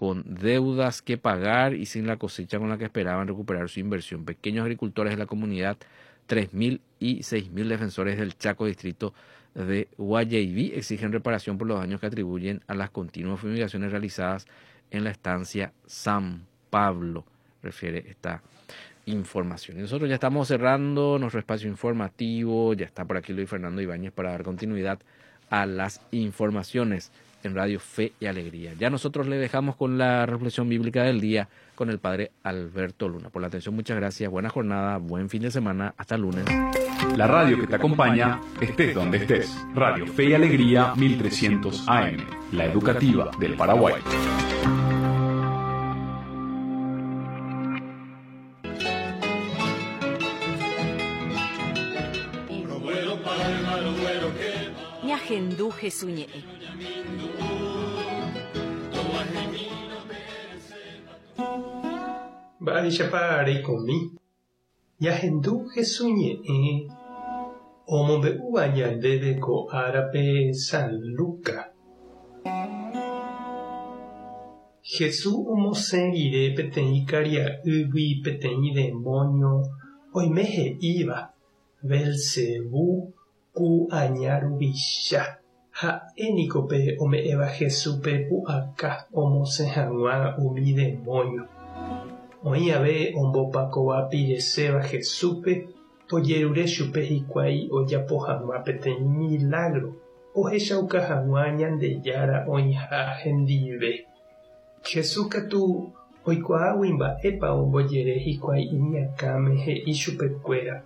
Con deudas que pagar y sin la cosecha con la que esperaban recuperar su inversión. Pequeños agricultores de la comunidad, 3.000 y 6.000 defensores del Chaco Distrito de Guayaibí exigen reparación por los daños que atribuyen a las continuas fumigaciones realizadas en la estancia San Pablo, refiere esta información. Y nosotros ya estamos cerrando nuestro espacio informativo, ya está por aquí Luis Fernando Ibáñez para dar continuidad a las informaciones en Radio Fe y Alegría. Ya nosotros le dejamos con la reflexión bíblica del día con el padre Alberto Luna. Por la atención, muchas gracias. Buena jornada, buen fin de semana. Hasta el lunes. La radio que te acompaña, estés donde estés. Radio Fe y Alegría 1300 AM, la educativa del Paraguay. Ñahendu Hesu ñe'ẽ. Mba'éichapa reikomi? Ñahendu Hesu ñe'ẽ omombe'úva ñandéve ko árape San Luca. Hesu omosẽ rire peteĩ karia'ýgui peteĩ demóño oime he'íva, Belcebú ku aña ruvicha. Ha'e niko pe ome'ẽva Jesúspe pu'aka omosẽ hag̃ua umi demóño. Oĩ ave ombopakova pireséva Jesúspe ojerure chupe hikuái ojapo hag̃ua peteĩ milágro ohechauka hag̃ua Ñandejára oĩha hendive. Jesús katu oikuaágui mba'épa ombojere hikuái iñakãme he'i chupekuéra,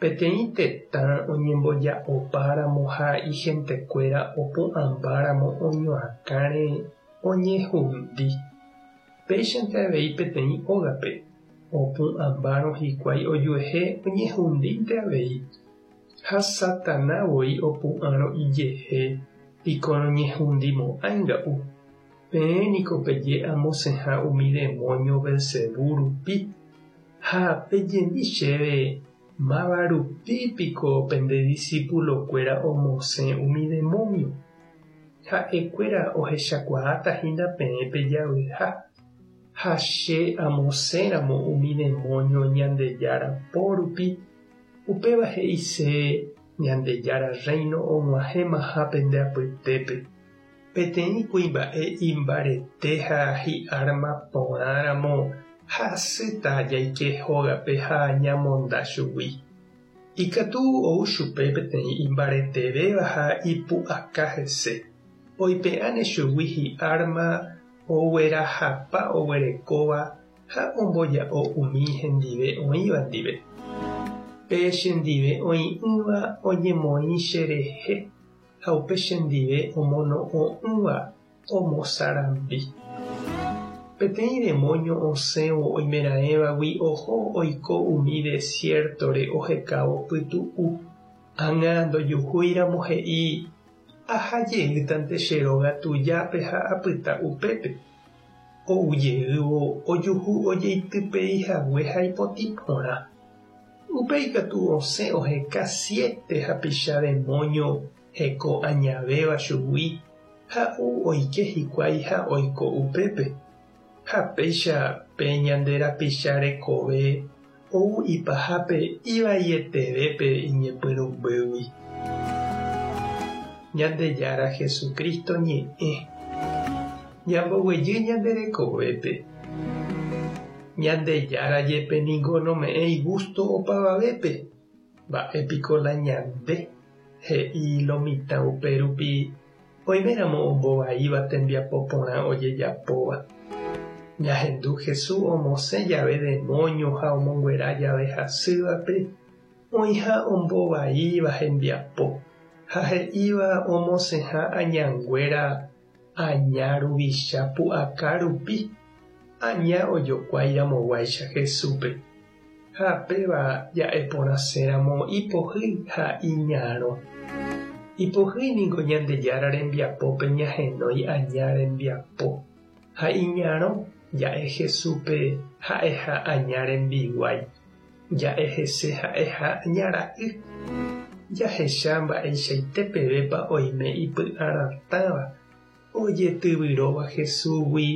Peteĩ tetã oñemboja'opáramo ha ihentekuéra opu'ãmbáramo oñoakãre oñehundi. Péichante avei peteĩ ógape, opu'ãmbárõ hikuái ojuehe oñehundínte avei. Ha Satana voi opu'ãrõ ijehe piko noñehundimo'ãi nga'u. Peẽ niko peje amosẽha umi demóño Belcebú rupi. Ha pejemi chéve, máva rupi piko pende disípulokuéra omosẽ umi demóño? Ha'ekuéra ohechakuaáta hína peẽ pejavyha, ha che amosẽramo umi demóño Ñandejára po rupi, upéva he'ise Ñandejára Rréino og̃uahẽmaha pende apytépe. Peteĩ kuimba'e imbarete ha hi'árma porãramo hasýta jaike hógape ha ñamonda chugui. Ikatu ou chupe peteĩ imbaretevéva ha ipu'aka hese, oipe'áne chugui hi'árma oguerahapa oguerekóva ha omboja'o umi hendive oĩva ndive. Pe chendive oĩ'ỹva oñemoĩ cherehe. Ha upe chendive omono'õ'ỹva omosarambi. Peteĩ demóño osẽvo oimeraẽvagui oho oiko umi desiértore ohekávo pytu'u. Ág̃a ndojuhúiramo he'i, Aha jeýtante che róga tujápe ha apyta upépe. Ou jeývo ojuhu ojeitypei hague ha ipotĩ porã. Upéi katu osẽ oheka siete hapicha demóño heko añavéva chugui ha ou oike hikuái ha oiko upépe. Ha péicha pe ñande rapicha rekove ou ipahápe ivaietevépe iñepyrũmbýgui. Ñandejára Jesucristo ñe'ẽ. Ñamboguejy ñande rekovépe. Ñandejára jepe ningo nome'ẽi gústo opavavépe. Mba'e piko la ñande, he'i lo mitã upérupi oiméramo ombovaíva tembiapo porã ojejapóva. Ñahendu Jesús omosẽ jave demóño ha omonguera jave hasývape, oĩha ombovaíva hembiapo, ha he'íva omosẽha añanguéra Aña ruvicha pu'aka rupi, aña ojokuái ramoguáicha Jesúspe. Ha péva ja'e porãséramo ipohýi ha iñarõ. Ipohýi ningo Ñandejára rembiapópe ñahenói aña rembiapo, ha iñarõ ja'e Jesúspe ha'eha aña rembiguái, ja'e hese ha'eha aña ra'y. Jahecha mba'eichaite pevépa oime ipy'aratãva ojetyvyróva Jesúsgui.